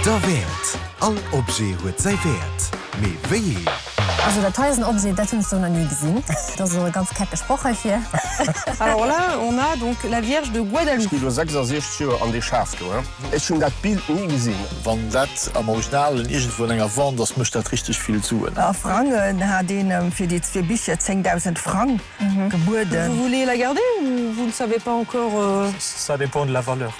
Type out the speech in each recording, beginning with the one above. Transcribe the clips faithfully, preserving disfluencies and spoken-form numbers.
Derwäert! All Objet huet säi Wäert, mee wéi een? Also dat hei ass en Objet, dat hunn ech sou nach ni gesinn. Dat ass elo e ganz kecke Sproch heifir. Alors là, on a donc la Vierge de Guadalupe. Ech gi lo sechsasechzeg Joer an dee Schaf do, he. Ech hunn dat Bild ni gesinn. Wann dat am Originalen iergendwou an enger Wand ass, mécht dat richteg vill Suen. A Frangen hat een em fir déi zwee Bicher zéngdausend Frang gebueden. Vous voulez la garder ou vous ne savez pas encore? Ça dépend de la valeur.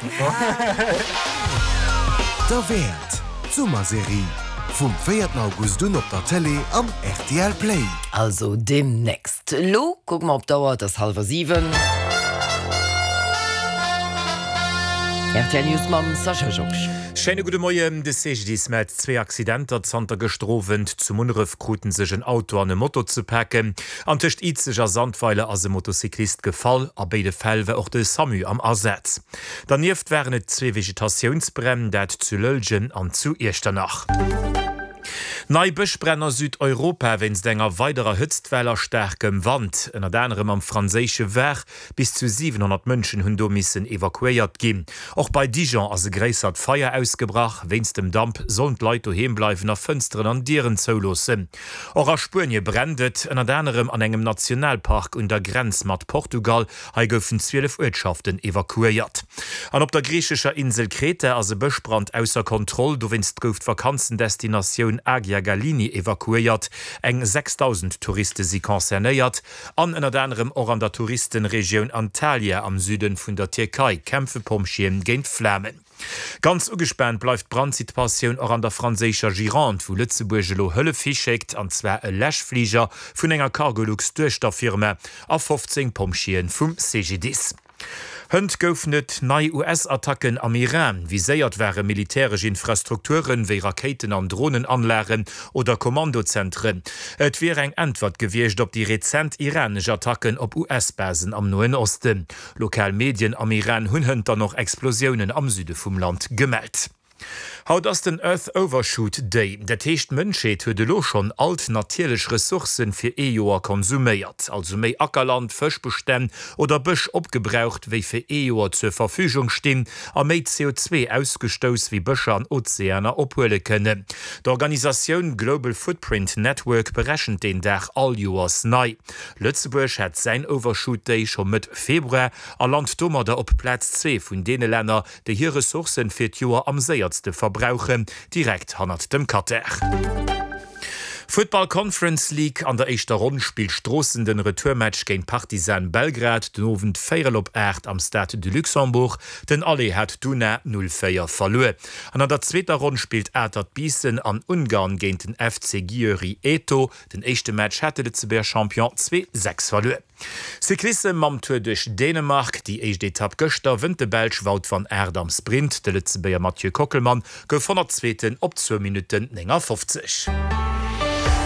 Derwäert, d'Summerserie, vum véierten August un op der Tëlee an rtl Play. Also demnächst. Elo kucke mer op d'Auer, et ass hallwer siwen. Rtl News mam Sascha Joerg. Schéine gudde Moien. De C G D I S mellt zwee Accidenter zanter gëschter Owend. Zu Munneref kruten sech en Auto an e Moto ze paken an tëscht Izeg a Sandweiler ass e Motocyclist gefall. A béide Fäll war och de SAMU am Asaz. Dernieft waren et zwee Vegetatiounsbränn, dat zu Lëllgen an zu Iechternach. Nei Bëschbränn a Südeuropa wéinst enger weiderer Hëtztwell a staarkem Wand, ënnert anerem am franséische Var. Bis zu siwenhonnert Mënschen hunn do missen evakuéiert ginn. Och bei Dijon ass e gréissert Feier ausgebrach. Wéinst dem Damp sollen d'Leit doheem bleiwen a Fënsteren an Dieren zouloossen. Och a Spuenie brennt et, ënnert anerem an engem Nationalpark un der Grenz mat Portugal. Hei goufen zwielef Uertschaften evakuéiert. An op der griichescher Insel Kreta ass e Bëschbrand ausser Kontroll. Dowéinst gouf d'Vakanzendestinatioun Agia Galini evakuéiert. Eng sechsdausend Touriste si concernéiert. An ënnert anerem och an der Touristenregioun Antalya am Süde vun der Tierkei kämpfe Pompjeeën géint d'Flamen. Ganz ugespaant bleift d'Brandsituatioun och an der franséischer Gironde, wou Lëtzebuerg elo Hëllef hischéckt, an zwar e Läschfliger vun enger Cargolux-Duechterfirma a fofzéng Pompjeeë vum C G D I S. Hënt goufen et nei U S-Attacken am Iran. Viséiert ware militäresch Infrastrukturen, wéi Rakéiten an Dronenanlagen oder Kommandozentren. Et wier eng Äntwert gewiescht op déi rezent iranesch Attacken op U S-Basen am Noen Osten. Lokal Medien am Iran hunn hënt dann och Explosiounen am Süde vum Land gemellt. Haut ass den Earth Overshoot Day. Dat heescht, d'Mënschheet huet elo schonn all d'natierlech Ressourcen fir ee Joer konsuméiert. Also méi Ackerland, Fëschbestänn oder Bësch opgebraucht, wéi fir ee Joer zur Verfügung stinn, a méi C O zwee ausgestouss, wéi Bëscher an Ozeaner ophuele kënnen. D'Organisatioun Global Footprint Network berechent deen Dag all Joers nei. Lëtzebuerg hat säin Overshoot Day scho Mëtt Februar a lant domadder op Plaz zwee vun deene Länner, déi hir Ressourcen fir d'Joer am séierste verbrauchen, direkt hannert dem Katar. Futtball Conference League, An der éischter Ronn spillt Stroossen den Retourmatch géint Partizan Belgrad den Owend véierel op aacht am Stade de Luxembourg. Den Aller hat d'Una null véier verluer. An an der zweeter Ronn spillt Atert Biissen an Ungarn géint den F C Győri E T O. Den éischte Match hat de Lëtzebuerger Champion zwee sechs verluer. Cyclissem mam Tour duerch Dänemark, Déi éischt Etapp gëschter wënnt de Belsch Wout van Aert am Sprint. De Lëtzebuerger Mathieu Kockelmann gouf Honnertzweeten op zwou Minutten néngafofzeg.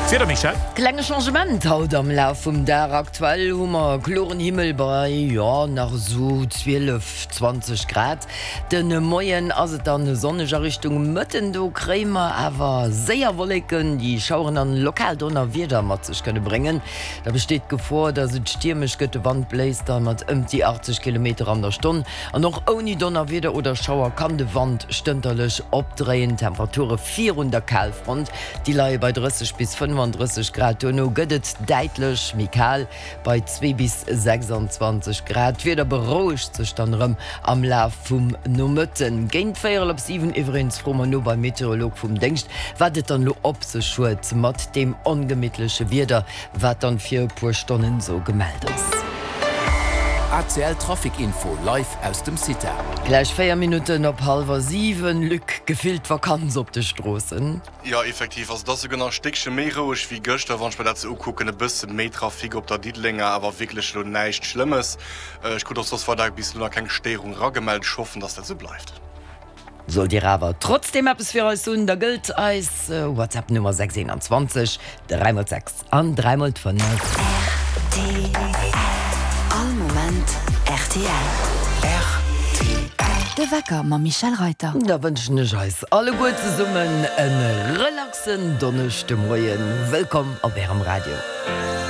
D'Wieder, Michèle? Klenge Changement haut am Laf vum Dag. Aktuell hu mer kloren Himmel bei, jo, nach esou zwielef, zwanzeg Grad. De Moien ass et dann sonneg, a Richtung Mëtten do kréie mer awer séier Wolleken, déi Schaueren an lokal Donnerwieder mat sech kënne bréngen. Da besteet d'Gefor, dass et stiermesch gëtt, de Wand bléist da mat ëmt déi achtzeg Kilometer an der Stonn. An och ouni Donnerwieder oder Schauer kann de Wand stënterlech opdréien. D'Temperature virun der Kalfront, déi leie bei drësseg bis fënnefandrësseg Grad. Duerno gëtt et däitlech méi kal, bei zwee bis sechsanzwanzeg Grad. D'Wieder berouegt sech dann erëm am Laf vum Nomëtten. Géint véierel op siwen iwweregens froe mer no beim Meteorolog vum Déngscht, wat et dann elo op sech huet mat deem ongemittleche Wieder, wat dann fir e puer Stonnen esou gemellt ass. A C L Trafic Info live aus dem CITA. Gläich véier Minutten op hallwer siwen, Luc, gefillt Vakanz op de Stroossen. Jo, effektiv, also et ass souguer nach e Stéckche méi roueg wéi gëschter, wann ech mer dat sou ukucken. E bësse méi Trafic op der Diddelenger, awer wierklech elo näischt Schlëmmes. Ech krut och soss weider bis elo nach keng Stéierung eragemellt. Ech hoffen, dass dat sou bleift. Sollt Dir awer trotzdeem eppes fir eis hunn, da gëllt eis WhatsApp Nummer sechs eenanzwanzeg dräi mol sechs an dräi mol fënnef. R T L. All Moment R T L. R T L. De Wecker mam Michèle Reyter. Da wënschen ech eis alleguer zesummen e relaxen Donneschdemoien. Wëllkomm op Ärem Radio.